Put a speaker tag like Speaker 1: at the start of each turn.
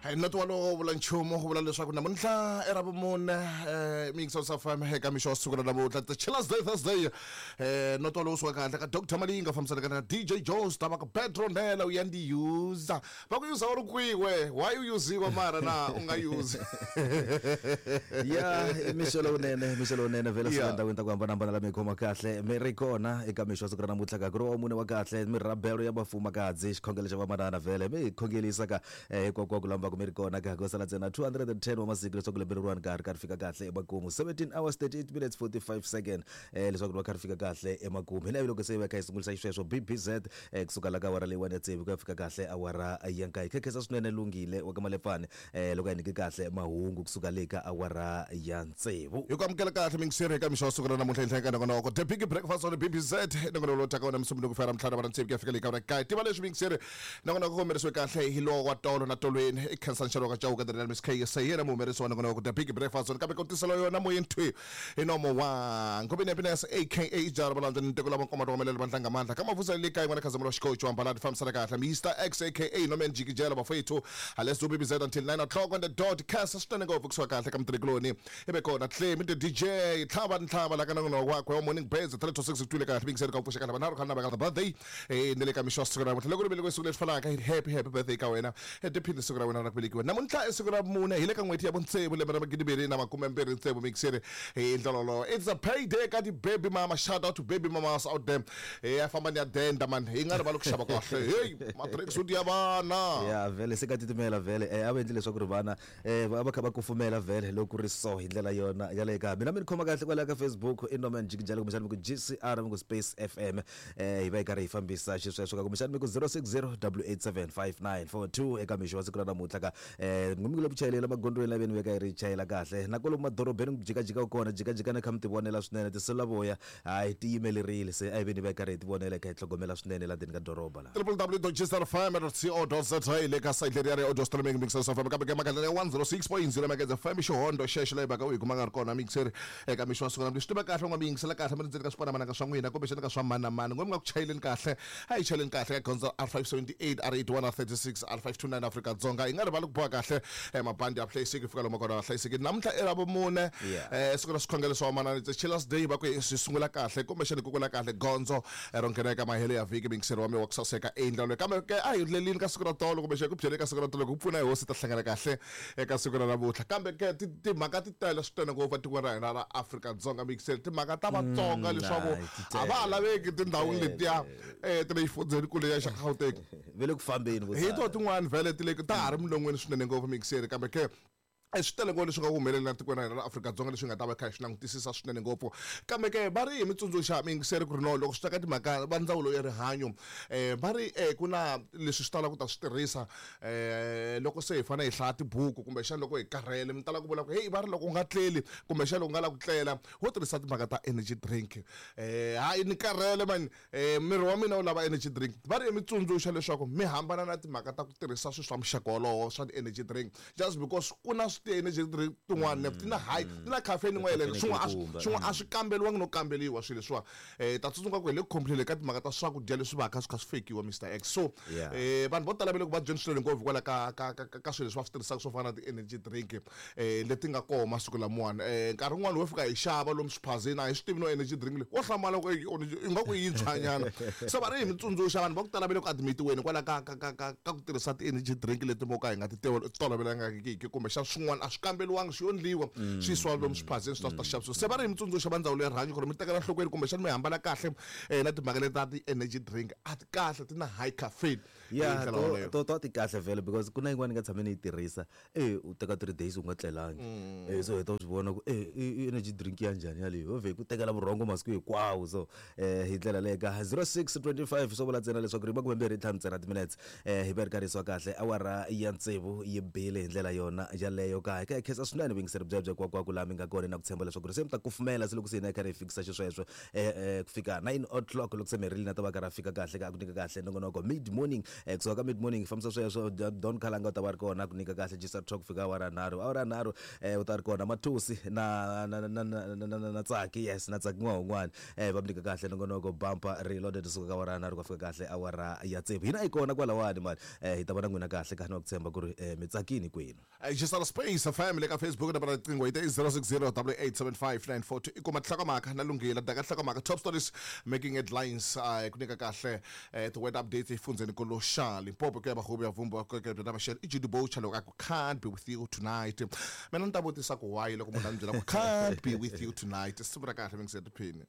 Speaker 1: Noti walowo vula nchumu wu vula leswaku namuntlha i ravumune miyingiso FM eka mixo wa siku ra namuntlha the chillers day Thursday. Noti walowo suka kahle ka Dr Malinga fambisanaka na DJ Jones ta va ku Petronella u ya ndi user va ku user u ri kwihi we why u uziwa mara na u nga use
Speaker 2: Ya, i mixo lowunene, mixo lowunene vhele suka endhawini ta ku hambanahambana la mi khoma kahle mi ri kona eka mixo wa siku ra namuntlha ka ku ri wa mune wa kahle mirabelo ya vafumakadzi xikhongelo xa vamanana vhele mi hi khongelisa ka Hinkwako ku lamba ku mi ri kona ka ku sala ntsena 210 wa masiku leswaku lembe leriwani ka ha ri ka ri fika kahle emakumu. 17 hours 38 minutes 45 second leswaku ri va kha ri fika kahle emakumu. Hi laha loko se hi va kha hi sungulisa xisweswo BBZ kusuka la ka awara leyiwani ya tsevu ku ya fika kahle awara ya nkaye. Khekhesa swinene Lunghile wa ka Malepfane loko a hi nyike kahle mahungu kusuka le ka awara ya tsevu.
Speaker 1: Hi ku amukela kahle mingiseri eka mixo wa siku ra namuntlha henhla ka nongonoko The Big Breakfast on BBZ nongonoko lowu taka wona musumbunuko ku fika Ravuntlhanu awara tsevu ku ya fika le ka awara kaye. Tiva leswi mingiseri Nongonoko ku humelerisiwe kahle hi lowa wa tolo na tolweni i Khensani Xaloka Chauke the real Miss KSA hi yena muhumelerisi wa nongonoko The Big Breakfast Zone kambe ku tisela yona moyeni thwi hi nomo wa Ngobeni Happiness aka Jara Valandza ni nteko lava nkoma tokomelela vantlanga mandla ka mavusa le kaya n'wana khazamula xikochi wa mbalati fambisana kahle Mr X aka Norman Jikijela bafethu let's do BBZ until 9 o'clock on the dot khensa swinene ngopfu kusuka kahle ka mutirhikuloni ibe kona Clemi the DJ tlhava ni tlhava la ka nongonoko wakwe wa Morning Birds 3 to 6 twile kahle bingiseni ka pfuxa kahle vanharhu khale na va ka birthday na le ka mixo wa siku ra namuntlha loko ri velekiwe siku leri fanaka happy happy birthday ka wena tiphini siku ra wena ra ku velekiwa namuntlha i siku ra mune hi le ka n'hweti ya vuntsevu lembe ra magidimbirhi na makume mbirhi tsevu mixeri hi ndlela wolowo it's a payday ka ti-baby mama shout out to baby mamas out there ya famba ni ya denda man hi nga rivali ku xava kahle hey ma-tracksuit ya vana
Speaker 2: Ya vhele se ka titimela vhele a va endli leswaku ri vana va va kha va kufumela vhele loko ku ri so hi ndlela yona yaleyo ka mina mi ni khoma kahle kwalaya ka Facebook i Norman Jikijela kumbexana mi ku GCR mi ku Space FM hi va hi karhi hi fambisa xisweswo ka kumbexana mi ku 060 887 5942 eka mixo wa siku ra namuntlha ka mi ku le ku chayeleni emagondzweni la veni veka yi ri chayela kahle na kwalomu madorobeni ku jikajika kona jikajika na kha mi tivonela swinene tiselulavoya hayi ti yimelerile se a hi veni va hi karhi hi tivonela hi kha hi tlhogomela swinene la ndzeni ka doroba la.
Speaker 1: www.gsrfm.co.za le ka site leri ya ri audio streaming mixer FM kambe ke makhandlela ya 106.0 MHz FM xihondo xexo leyi baka u yi kuma nga ri kona mixer eka mixo wa siku na swi tiva kahle u nga mi yingisela kahle mi ri ndzeni ka swipanamananga swa n'wina kumbexana ka swa mani na mani n'we mi nga ku chayeleni kahle a hi chayeleni kahle ka gondzo R578 R81 R36 R529 Afrika-Dzonga hi nga rivali ku boha kahle mabandi ya hlayiseki fika lomu kona hlayiseki namuntlha i ravumune siku ra swikhongelo swa vamanana it's a chillers day va ku hi swi sungula kahle kumbexana ku kula kahle gondzo ro nghena eka mahelo ya vhiki mingiseri wa mina wa ku saseka endla kambe ke a hi lelini ka siku ra tolo kumbexana ku byele ka siku ra tolo ku pfuna hi hosi ta hlangana kahle eka siku ra namuntlha kambe ke timhaka ti tele swinene ngopfu etikweni ra hina ra Afrika-Dzonga mixeni timhaka ta Vatsonga leswaku a va ha laveki tindhawini letiya ta le xifundzheni kule ya xa Gauteng
Speaker 2: ve le ku fambeni
Speaker 1: hi to tin'wani vhele ti le ta ha ri milon'weni swinene ngopfu mixeri kambe ke swi tele ngopfu leswi nga ku humelela tikweni ra hina ra Afrika-Dzonga leswi nga ta va kha hi swi langutisisa swinene ngopfu kambe ke va ri hi mi tsundzuxa miyingiseri ku ri no loko swi ta ka timhaka va ndzawulo ya rihanyo va ri ku na leswi swi talaka ku ta swi tirhisa loko se hi fanele hi hlaya tibuku kumbexana loko hi karhele mi tala ku vula ku heyi va ri loko u nga tleli kumbexana loko u nga lavi ku tlela wo tirhisa timhaka ta energy drink hayi ni karhele mani miri wa mina wu lava energy drink va ri mi tsundzuxa leswaku mi hambana na timhaka ta ku tirhisa swilo swa muxaka wolowo swa ti-energy drink just because ku na ti-energy drink tin'wana ti na high ti na caffeine yin'wana yeleyo swin'wana a swin'wana a swi kamberiwangi no kamberiwa swilo leswiwani ta tsundzuka ku hi le ku complain ka timhaka ta swakudya leswi va ka swi kha swi fakiwa Mister X so vanhu vo tala va le ku vabyeni swinene ngopfu hikwalaho ka ka ka ka swilo leswi va swi tirhisaka swo fana na ti-energy drink leti nga kona masiku lamawani nkarhi wun'wani wo fika hi xava lomu swiphazeni a hi swi tivi no energy drink leyi wo hlamala ku ingaku yi yintshwanyana se va ri hi mi tsundzuxa vanhu va ku tala va le ku admitiweni hikwalaho ka ka ka ka ka ku tirhisa ti-energy drink leti mo ka hi nga ti tolovelangiki kumbexana swin'wana a swi kamberiwangi swi yo ndliwa swi yisiwa lomu swiphazeni swi ta swi ta xavisiwa se va ri hi mi tsundzuxa va ndzawulo ya rihanyo ku ri mi tekela nhlokweni kumbexana mi hambana kahle na timhaka leti ta ti-energy drink a ti kahle ti na high caffeine
Speaker 2: ya to to ti kahle vhele because ku na yin'wana ni nga tshame ni yi tirhisa e u teka 3 days u nga tlelangi so heta u swi vona ku e i energy drink ya njhani yaleyo ho vhe ku tekela vurhongo masiku hinkwawo so hi ndlela leyo ka 0625 swo vula ntsena leswaku ri makume mbirhi ntlhanu ntsena timinetse hi va ri karhi yisiwa kahle awara ya tsevu yi bile hi ndlela yona yaleyo ka hi ka hi khensa swinene vuyingiseri byebyo hinkwako laha mi nga kona na ku tshemba leswaku ri se mi ta kufumela se loko se hina hi karhi hi fikisa xisweswo ku fika 9 o'clock loko se Merilyn a ta va karhi a fika kahle ka ku nyika kahle nongonoko mid morning. Kusuka ka mid morning fambisa sweswo, Don Khalanga u ta va ri kona ku nyika kahle Gisa Talk fika awara nharhu. Awara nharhu u ta ri kona Mathusi na na na na na na na Tsaki, yes, na Tsaki n'wana va mi nyika kahle nongonoko Bumper Reloaded kusuka ka awara nharhu ku fika kahle awara ya tsevu. Hina hi kona kwalawani mani, hi ta va na n'wina kahle ka na ku tshemba ku ri mi tsakini kwenu.
Speaker 1: Xisala Space FM le ka Facebook nambara riqingho yi te 060 875 i kuma tinhlokomhaka na lunghila daka tinhlokomhaka, top stories making headlines, ku nyika kahle ti weather updates efundzeni xa Limpopo ku ya vahuvi ya vumba ku ya bya maxelo i Judy Boucher loko a ku "Can't be with you tonight". Mina ni ta vutisa ku why loko munhu a ni byela ku "Can't be with you tonight". Siku ra kahle mi ngi se tiphini.